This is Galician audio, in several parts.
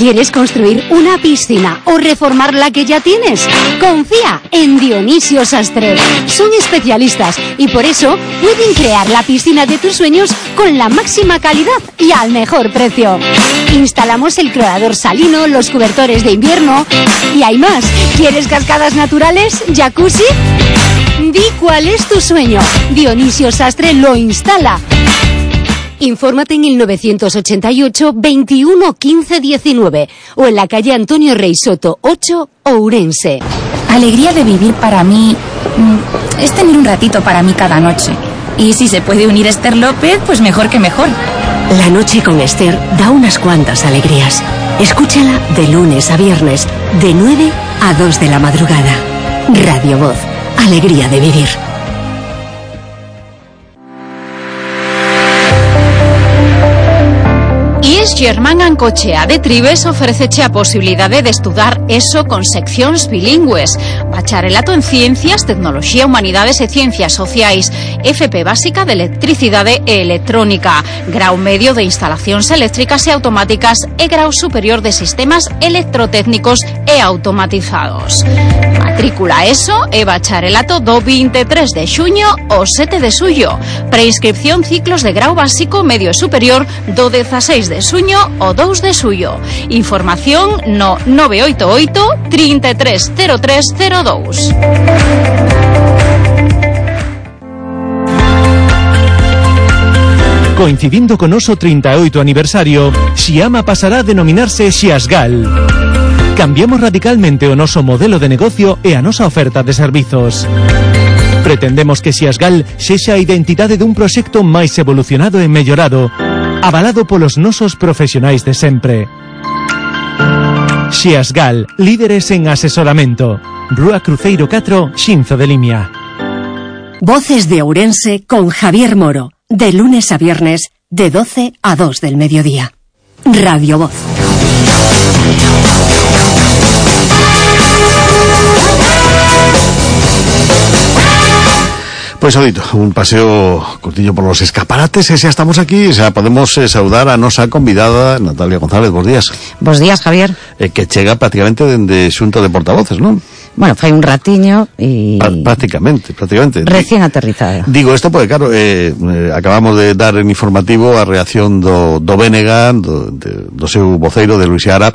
¿Quieres construir una piscina o reformar la que ya tienes? Confía en Dionisio Sastre. Son especialistas y por eso pueden crear la piscina de tus sueños con la máxima calidad y al mejor precio. Instalamos el clorador salino, los cobertores de invierno y hay más. ¿Quieres cascadas naturales? ¿Jacuzzi? Di cuál es tu sueño. Dionisio Sastre lo instala. Infórmate en el 988 21 15 19 o en la calle Antonio Rey Soto 8, Ourense. Alegría de vivir para mí es tener un ratito para mí cada noche. Y si se puede unir Esther López, pues mejor que mejor. La noche con Esther da unas cuantas alegrías. Escúchala de lunes a viernes, de 9 a 2 de la madrugada. Radio Voz, alegría de vivir. IES Germán Ancochea de Tribes ofreceche a posibilidade de estudar ESO con seccións bilingües, bacharelato en Ciencias, Tecnoloxía, Humanidades e Ciencias Sociais, FP básica de Electricidade e Electrónica, grau medio de Instalacións Eléctricas e Automáticas e grau superior de Sistemas Electrotécnicos e Automatizados. Matrícula ESO e bacharelato do 23 de xuño ao 7 de xullo. Preinscripción ciclos de grau básico, medio e superior do 16 de xuño ao 2 de xullo. Información no 988 330302. Coincidindo con noso 38 aniversario, Xiama pasará a denominarse Xiasgal. Cambiamos radicalmente o noso modelo de negocio e a nosa oferta de servizos. Pretendemos que Xiasgal sexa a identidade dun proxecto máis evolucionado e mellorado, avalado polos nosos profesionais de sempre. Xiasgal, líderes en asesoramento. Rúa Cruceiro 4, Xinzo de Limia. Voces de Ourense con Javier Moro, de lunes a viernes, de 12 a 2 del mediodía. Radio Voz. Pois, Odito, un paseo cortillo por los escaparates e xa estamos aquí, xa podemos saudar a nosa convidada Natalia González. Bos días. Bos días, Javier. Que chega prácticamente dende xunto de portavoces, non? Bueno, fai un ratiño e... Prácticamente. Recién aterrizada. Digo isto porque, claro, acabamos de dar en informativo a reacción do BNG, do seu voceiro, de Luis Seara,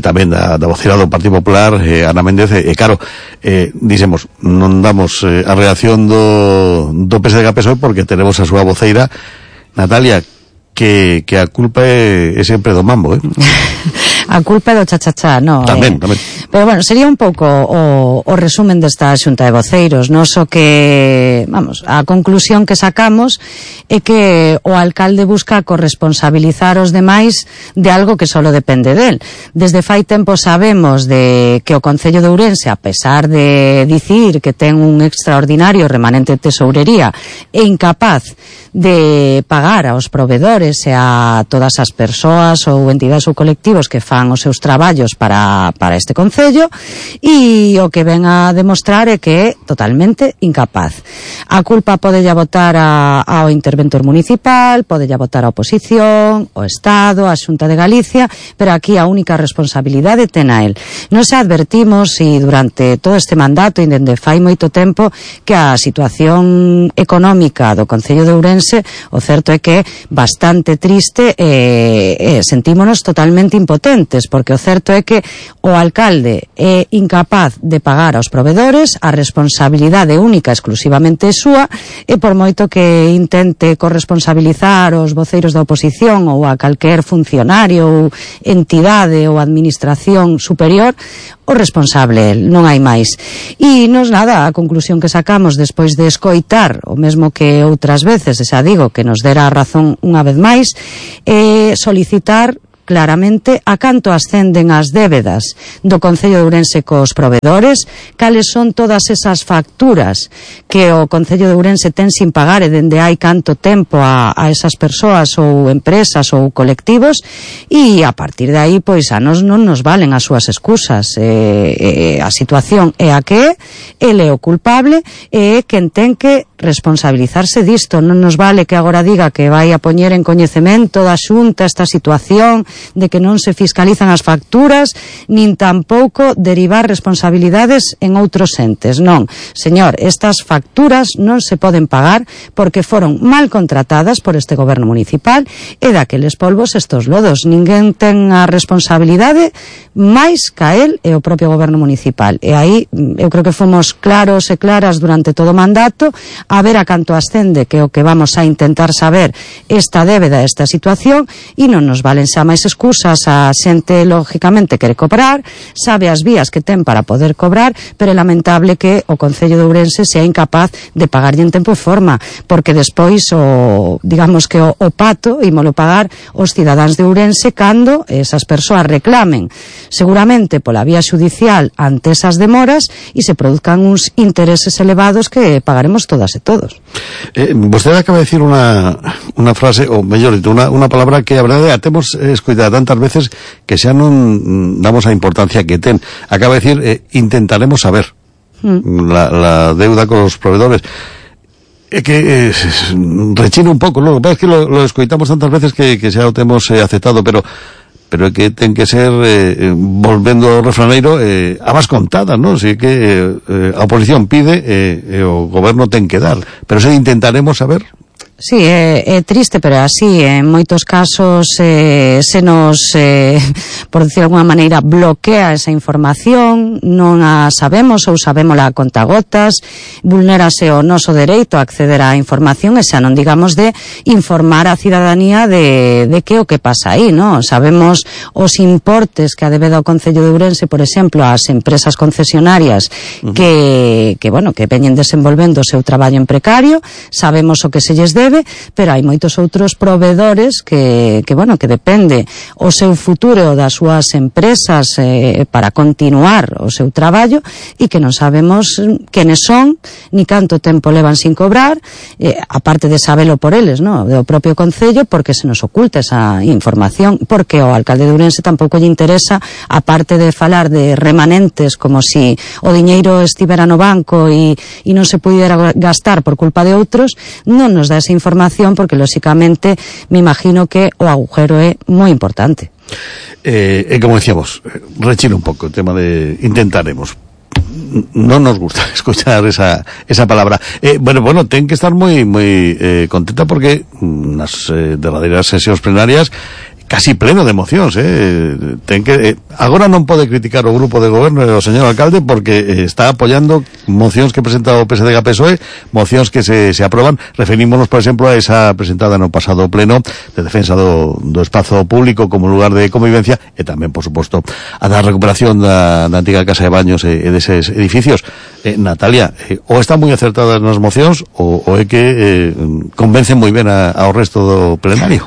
tamén da voceira do Partido Popular, Ana Méndez, claro, dixemos, non damos a reacción do PSDG-PSOE porque tenemos a súa voceira, Natalia, que a culpa é sempre do mambo, A culpa é do chachachá, no? Tamén. Pero bueno, sería un pouco o resumen desta xunta de voceiros, non? So que, vamos, a conclusión que sacamos é que o alcalde busca corresponsabilizar os demais de algo que solo depende del. Desde fai tempo sabemos de que o Concello de Ourense, a pesar de dicir que ten un extraordinario remanente de tesourería, é incapaz de pagar aos provedores e a todas as persoas ou entidades ou colectivos que fan os seus traballos para este Concello, e o que ven a demostrar é que é totalmente incapaz. A culpa podella botar ao interventor municipal, podella botar a oposición, o Estado, a Xunta de Galicia, pero aquí a única responsabilidade ten a él. Nos advertimos e durante todo este mandato e dende fai moito tempo que a situación económica do Concello de Ourense, o certo é que é bastante triste e sentímonos totalmente impotentes, porque o certo é que o alcalde é incapaz de pagar aos provedores, a responsabilidade única exclusivamente é súa, e por moito que intente corresponsabilizar os voceiros da oposición ou a calquer funcionario ou entidade ou administración superior, o responsable non hai máis. E nos nada, a conclusión que sacamos despois de escoitar o mesmo que outras veces, e xa digo que nos dera a razón unha vez máis, é solicitar claramente a canto ascenden as débedas do Concello de Ourense cos provedores, cales son todas esas facturas que o Concello de Ourense ten sin pagar e dende hai canto tempo a esas persoas ou empresas ou colectivos, e a partir de aí, pois, a nos non nos valen as súas excusas. A situación é a que é, ele é o culpable e é quen ten que responsabilizarse disto. Non nos vale que agora diga que vai a poñer en coñecemento da Xunta esta situación de que non se fiscalizan as facturas, nin tampouco derivar responsabilidades en outros entes. Non, señor, estas facturas non se poden pagar porque foron mal contratadas por este goberno municipal e daqueles polvos estos lodos. Ninguén ten a responsabilidade máis ca el e o propio goberno municipal. E aí eu creo que fomos claros e claras durante todo o mandato a ver a canto ascende, que é o que vamos a intentar saber esta débeda, esta situación, e non nos valen xa máis excusas. A xente lógicamente quere cobrar, sabe as vías que ten para poder cobrar, pero é lamentable que o Concello de Ourense sea incapaz de pagarlle en tempo e forma, porque despois digamos que o pato ímolo pagar os cidadáns de Ourense cando esas persoas reclamen seguramente pola vía xudicial ante esas demoras e se produzcan uns intereses elevados que pagaremos todas e todos. Vostede acaba de decir unha frase, ou mellor dito, unha palabra que a verdade a temos escoitado tantas veces que xa non damos a importancia que ten. Acaba de decir, intentaremos saber la deuda con los proveedores. Que rechina un pouco, lo que pasa es que lo escoitamos tantas veces que xa o temos aceptado, pero é que ten que ser, volvendo ao refraneiro, a vas contada, non? Si que a oposición pide e o goberno ten que dar, pero se intentaremos saber. Sí, é triste, pero así en moitos casos se nos, por decir de alguna maneira, bloquea esa información, non a sabemos ou sabémola a contagotas, vulnérase o noso dereito a acceder á información e xa non digamos de informar a cidadanía de que o que pasa aí, non? Sabemos os importes que a debeda o Concello de Ourense, por exemplo, ás empresas concesionarias que veñen desenvolvendo o seu traballo en precario, sabemos o que se lles debe, pero hai moitos outros proveedores que depende o seu futuro das súas empresas para continuar o seu traballo e que non sabemos quenes son, ni canto tempo levan sin cobrar, aparte de sabelo por eles, no, do propio Concello, porque se nos oculta esa información, porque o alcalde de Ourense tampouco lle interesa, aparte de falar de remanentes como si o diñeiro estivera no banco e non se pudera gastar por culpa de outros, non nos dá esa información porque lógicamente me imagino que o agujero é moi importante. Como decíamos, rechina un pouco o tema de intentaremos. Non nos gusta escuchar esa palabra. Bueno, ten que estar moi contenta porque nas derradeiras sesións plenarias casi pleno de emocións, ten que agora non pode criticar o grupo de goberno e o señor alcalde porque está apoiando mocións que presenta o PSD e a PSOE, mocións que se aproban. Referímonos, por exemplo, a esa presentada no pasado pleno de defensa do espazo público como lugar de convivencia e tamén, por suposto, a da recuperación da antiga casa de baños e deses edificios. Natalia, ou está moi acertada nas mocións ou é que convencen moi ben ao resto do plenario.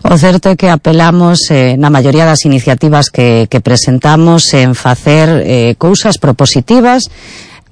O certo é que apelamos na maioría das iniciativas que presentamos en facer cousas propositivas.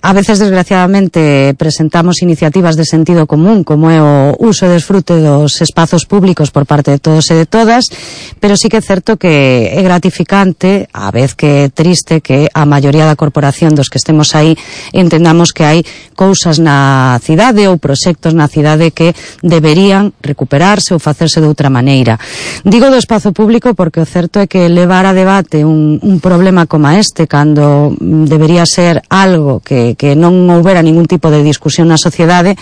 A veces, desgraciadamente, presentamos iniciativas de sentido común, como é o uso e desfrute dos espazos públicos por parte de todos e de todas, pero sí que é certo que é gratificante, a vez que é triste, que a maioría da corporación dos que estemos aí entendamos que hai cousas na cidade ou proxectos na cidade que deberían recuperarse ou facerse de outra maneira. Digo do espazo público porque o certo é que levar a debate un problema como este, cando debería ser algo que non houbera ningún tipo de discusión na sociedade,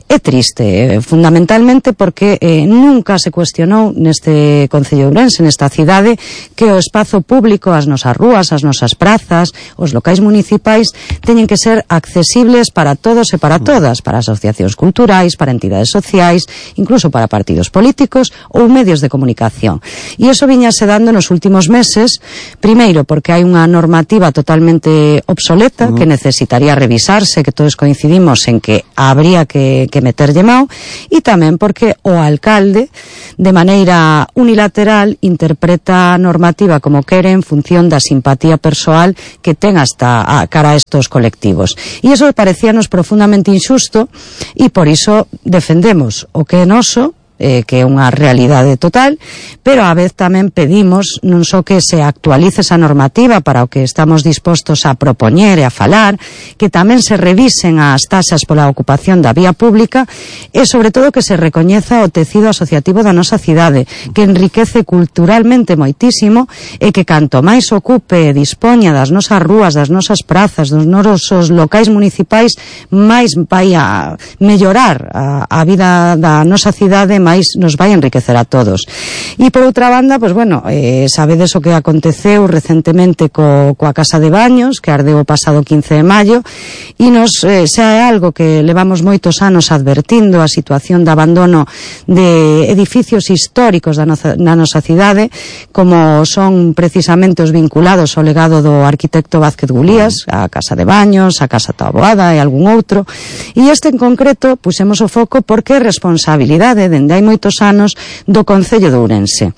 é triste, fundamentalmente porque nunca se cuestionou neste Concello de Ourense, nesta cidade, que o espazo público, as nosas rúas, as nosas prazas, os locais municipais teñen que ser accesibles para todos e para todas, para asociacións culturais, para entidades sociais, incluso para partidos políticos ou medios de comunicación. E iso viñase dando nos últimos meses, primeiro porque hai unha normativa totalmente obsoleta que necesitaría revisarse, que todos coincidimos en que habría que meterlle mao, e tamén porque o alcalde de maneira unilateral interpreta a normativa como quere en función da simpatía persoal que ten hasta a cara a estos colectivos. E iso parecíanos profundamente injusto e por iso defendemos o que é noso, que é unha realidade total, pero á vez tamén pedimos non só que se actualice esa normativa para o que estamos dispostos a propoñer e a falar, que tamén se revisen as taxas pola ocupación da vía pública e sobre todo que se recoñeza o tecido asociativo da nosa cidade, que enriquece culturalmente moitísimo e que canto máis ocupe e dispoña das nosas rúas, das nosas prazas, dos nosos locais municipais, máis vai a mellorar a vida da nosa cidade, máis nos vai enriquecer a todos. E por outra banda, pois bueno, sabedes o que aconteceu recentemente coa Casa de Baños, que ardeu o pasado 15 de maio, e nos xa é algo que levamos moitos anos advertindo, a situación de abandono de edificios históricos na nosa cidade, como son precisamente os vinculados ao legado do arquitecto Vázquez Gulías, a Casa de Baños, a Casa Taboada e algún outro, e este en concreto pusemos o foco porque é responsabilidade dende hai moitos anos do Concello de Ourense.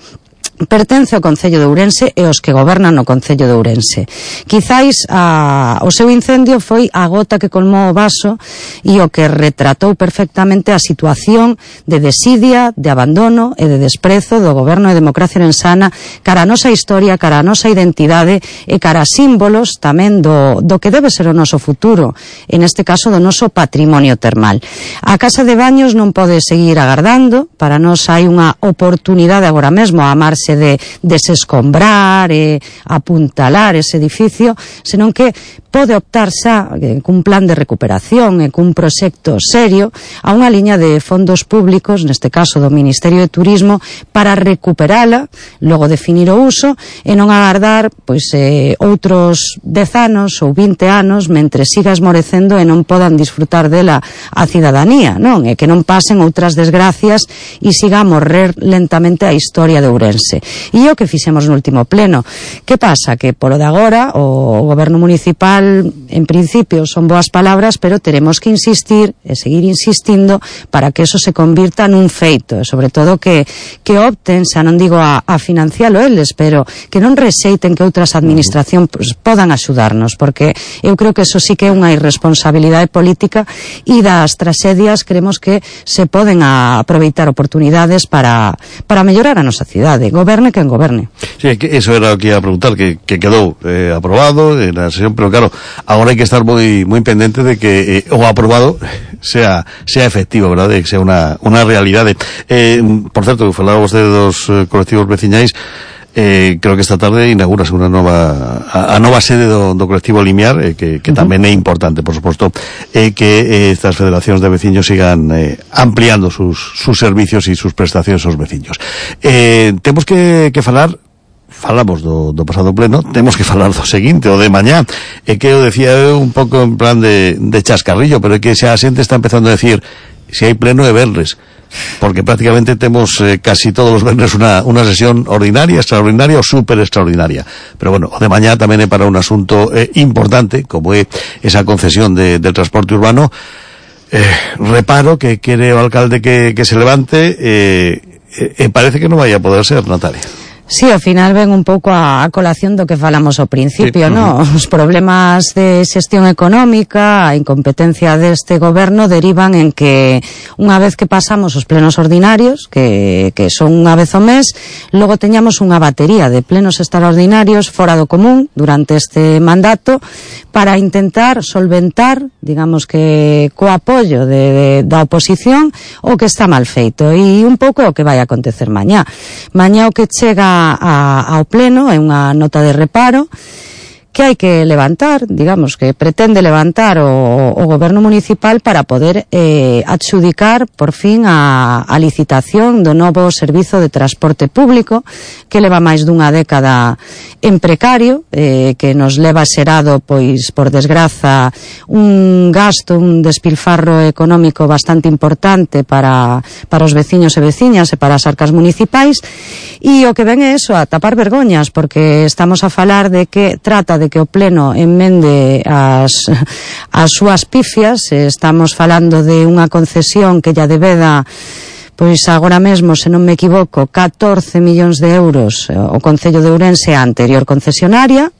Pertence ao Concello de Ourense e os que gobernan no Concello de Ourense. Quizáis o seu incendio foi a gota que colmou o vaso e o que retratou perfectamente a situación de desidia, de abandono e de desprezo do goberno de democracia orensana cara a nosa historia, cara a nosa identidade e cara a símbolos tamén do que debe ser o noso futuro, en este caso do noso patrimonio termal. A Casa de Baños non pode seguir agardando, para nós hai unha oportunidade agora mesmo a amarse de desescombrar e apuntalar ese edificio, senón que pode optar xa cun plan de recuperación e cun proxecto serio a unha liña de fondos públicos, neste caso do Ministerio de Turismo, para recuperala, logo definir o uso e non agardar outros 10 anos ou 20 anos mentre siga esmorecendo e non podan disfrutar dela a cidadanía, non? E que non pasen outras desgracias e siga a morrer lentamente a historia de Ourense. E o que fixemos no último pleno. Que pasa? Que polo de agora o goberno municipal en principio son boas palabras, pero teremos que insistir e seguir insistindo para que eso se convirta nun feito, e sobre todo que opten, xa non digo a financialo eles, pero que non rexeiten que outras administracións podan axudarnos, porque eu creo que eso sí que é unha irresponsabilidade política e das tragedias creemos que se poden aproveitar oportunidades para mellorar a nosa cidade, goberne quen goberne. Sí, que eso era o que ia a preguntar, que quedou aprobado na sesión, pero claro, agora hai que estar moi pendente de que o aprobado sea efectivo, verdade? Que sea unha realidade. Por certo, que falaba vostede dos colectivos veciñais, creo que esta tarde inaugurase a nova sede do colectivo Limiar, que tamén é importante, por suposto, que estas federacións de veciños sigan ampliando sus servicios e sus prestacións aos veciños. Temos que falamos do pasado pleno, temos que falar do seguinte, o de mañá, e que eu decía un pouco en plan de chascarrillo, pero é que xa a xente está empezando a decir se hai pleno é venres, porque prácticamente temos casi todos os venres unha sesión ordinaria, extraordinaria ou super extraordinaria, pero bueno, o de mañá tamén é para un asunto importante, como é esa concesión del transporte urbano. Reparo que quere o alcalde que se levante e parece que non vai a poder ser, Natalia. Sí, ao final ven un pouco a colación do que falamos ao principio, sí, ¿no? Os problemas de xestión económica, a incompetencia deste goberno derivan en que unha vez que pasamos os plenos ordinarios, que son unha vez ao mes, logo teñamos unha batería de plenos extraordinarios fora do común durante este mandato para intentar solventar, digamos que co apoio da oposición, o que está mal feito. E un pouco o que vai acontecer mañá. Mañá o que chega ao pleno é unha nota de reparo que hai que levantar, digamos, que pretende levantar o goberno municipal para poder adxudicar por fin a licitación do novo servizo de transporte público que leva máis dunha década en precario, que nos leva xerado, pois, por desgraza, un gasto, un despilfarro económico bastante importante para os veciños e veciñas e para as arcas municipais, e o que ven é eso, a tapar vergoñas, porque estamos a falar de que trata de que o pleno enmende as súas pifias. Estamos falando de unha concesión que ya debeda, pois agora mesmo, se non me equivoco, 14 millóns de euros o Concello de Ourense a anterior concesionaria,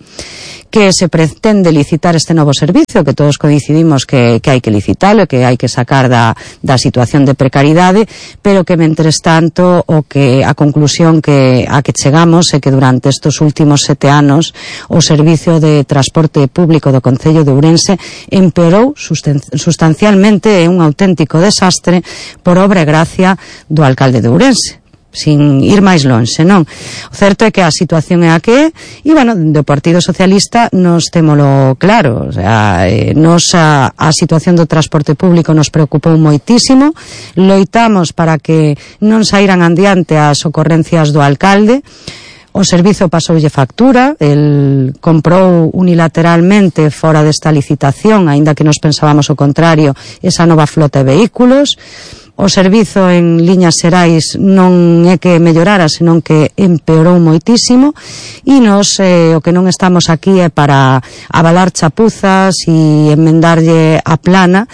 que se pretende licitar este novo servicio, que todos coincidimos que hai que licitalo, que hai que sacar da situación de precariedade, pero que mentres tanto a conclusión a que chegamos é que durante estes últimos 7 anos o servicio de transporte público do Concello de Ourense empeorou sustancialmente, é un auténtico desastre por obra e gracia do alcalde de Ourense, sin ir máis lonxe, non? O certo é que a situación é a que é, e, bueno, do Partido Socialista nos témolo claro, o sea, a situación do transporte público nos preocupou moitísimo, loitamos para que non saíran adiante as ocorrencias do alcalde. O servizo pasoulle factura, el comprou unilateralmente fora desta licitación, aínda que nos pensábamos o contrario, esa nova flota de vehículos. O servizo en liñas xerais non é que mellorara, senón que empeorou moitísimo, e nos o que non estamos aquí é para avalar chapuzas e enmendarlle a plana,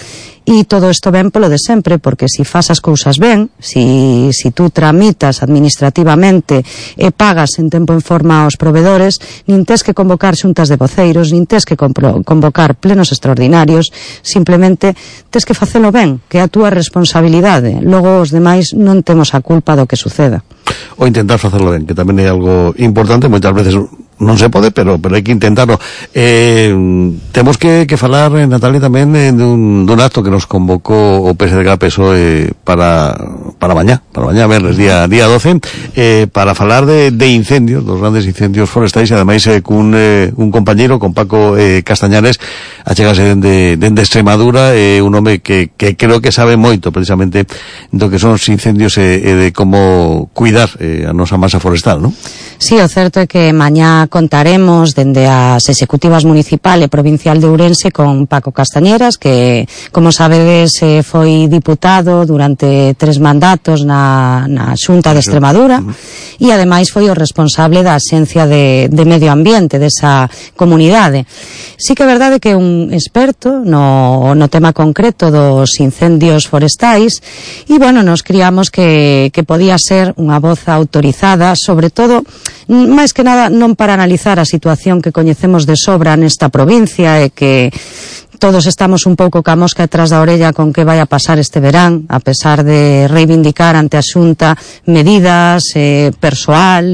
e todo isto ben polo de sempre, porque se fas as cousas ben, si tú tramitas administrativamente e pagas en tempo en forma aos provedores, nin tes que convocar xuntas de voceiros, nin tes que convocar plenos extraordinarios, simplemente tes que facelo ben, que é a túa responsabilidade. Logo os demais non temos a culpa do que suceda. O intentar facelo ben, que tamén é algo importante, moitas veces non se pode, pero hai que intentarlo. Temos que falar, Natalia, tamén dun acto que nos convocou o PSDG-PSOE para mañá, verles, día 12, para falar de incendios, dos grandes incendios forestais, e ademais cun compañeiro, con Paco Castañares, achegase dende Extremadura, un home que creo que sabe moito precisamente do que son os incendios e de como cuidar a nosa masa forestal, non? Sí, o certo é que mañá contaremos dende as executivas municipal e provincial de Ourense con Paco Castañeras, que, como sabedes, foi diputado durante 3 mandatos na Xunta de Extremadura, e ademais foi o responsable da Axencia de Medio Ambiente desa comunidade. Sí que é verdade que é un experto no tema concreto dos incendios forestais, e, bueno, nos criamos que podía ser unha voz autorizada, sobre todo, máis que nada, non para analizar a situación que coñecemos de sobra nesta provincia, e que todos estamos un pouco ca mosca detrás da orella con que vai a pasar este verán, a pesar de reivindicar ante a Xunta medidas, persoal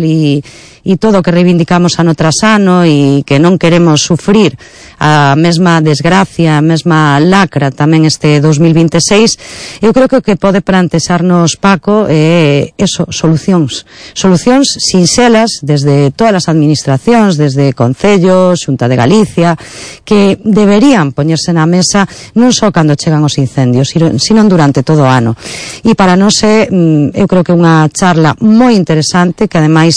e todo o que reivindicamos ano tras ano, e que non queremos sufrir a mesma desgracia, a mesma lacra tamén este 2026. Eu creo que o que pode plantexarnos Paco é solucións sinxelas desde todas as administracións, desde Concello, Xunta de Galicia, que deberían poñerse na mesa non só cando chegan os incendios, sino durante todo o ano. E para nós eu creo que é unha charla moi interesante, que ademais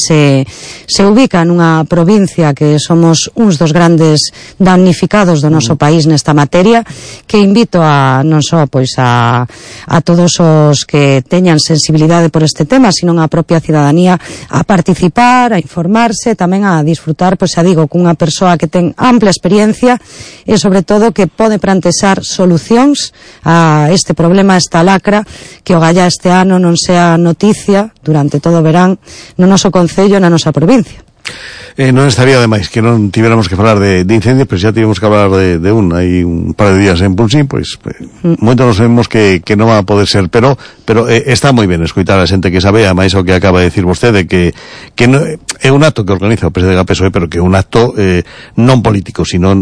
se ubica nunha provincia que somos uns dos grandes damnificados do noso país nesta materia, que invito a non só a todos os que teñan sensibilidade por este tema, sino a propia cidadanía a participar, a informarse, tamén a disfrutar, xa digo, cunha persoa que ten ampla experiencia e, sobre todo, que pode plantexar solucións a este problema, a esta lacra, que o galla este ano non sea noticia durante todo o verán no noso concello, na nosa provincia. Non estaría demais que non tivéramos que falar de incendios, pero xa tivemos que hablar de hai un par de días en Pulsín, pois moito nos vemos que non va a poder ser, pero está moi ben escoitar a xente que sabe, a máis o que acaba de decir vostede, que non, é un acto que organiza o PSDG-PSOE, pero que é un acto non político, sino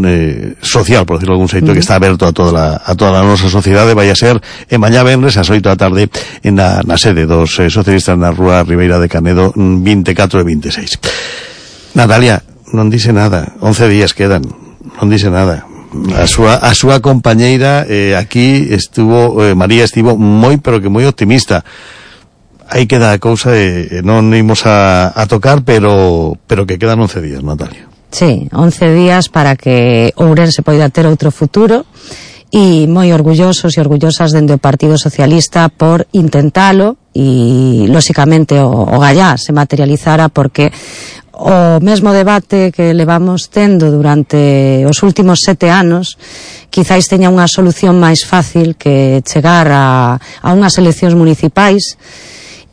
social, por decirlo de algún xeito, que está aberto a toda a nosa sociedade. Vai a ser mañá venres ás 8 da tarde na sede dos socialistas na Rúa Ribeira de Canedo, 24 e 26. Natalia, non dice nada, 11 días quedan, non dice nada. A súa compañeira aquí María estivo moi, pero que moi optimista. Aí queda a cousa non imos a tocar, pero que quedan 11 días, Natalia. Sí, 11 días para que Ourense poida ter outro futuro, e moi orgullosos e orgullosas dende o Partido Socialista por intentalo, e lóxicamente o gallá se materializara, porque o mesmo debate que levamos tendo durante os últimos 7 anos quizáis teña unha solución máis fácil que chegar a unhas eleccións municipais,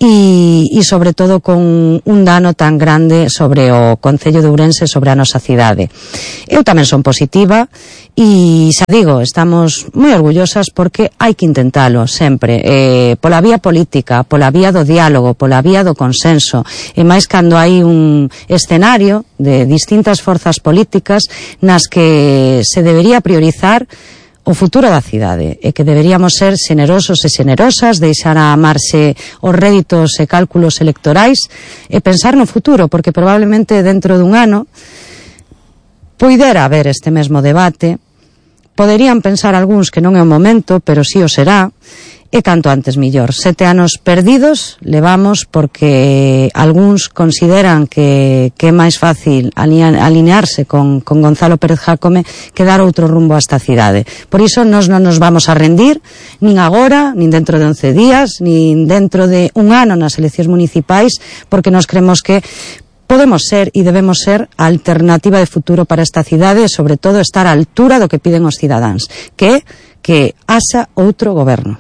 e sobre todo con un dano tan grande sobre o Concello de Ourense, sobre a nosa cidade. Eu tamén son positiva e xa digo, estamos moi orgullosas porque hai que intentalo sempre, pola vía política, pola vía do diálogo, pola vía do consenso, e máis cando hai un escenario de distintas forzas políticas nas que se debería priorizar o futuro da cidade, e que deberíamos ser xenerosos e xenerosas, deixar a marxe os réditos e cálculos electorais e pensar no futuro, porque probablemente dentro dun ano poidera haber este mesmo debate, poderían pensar algúns que non é o momento, pero sí o será, e canto antes millor. 7 anos perdidos levamos porque algúns consideran que é máis fácil alinearse con Gonzalo Pérez Jácome que dar outro rumbo a esta cidade. Por iso nos non nos vamos a rendir, nin agora, nin dentro de 11 días, nin dentro de un ano nas eleccións municipais, porque nos creemos que podemos ser e debemos ser a alternativa de futuro para esta cidade e, sobre todo, estar á altura do que piden os cidadáns, que é que haxa outro goberno.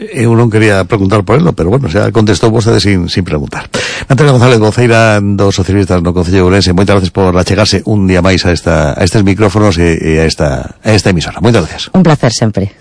Eu non quería preguntar por elo, pero bueno, xa contestou vostede sin preguntar. Natalia González, voceira dos socialistas no Concello de Ourense, moitas gracias por achegarse un día máis a estes micrófonos e a esta emisora. Moitas gracias. Un placer sempre.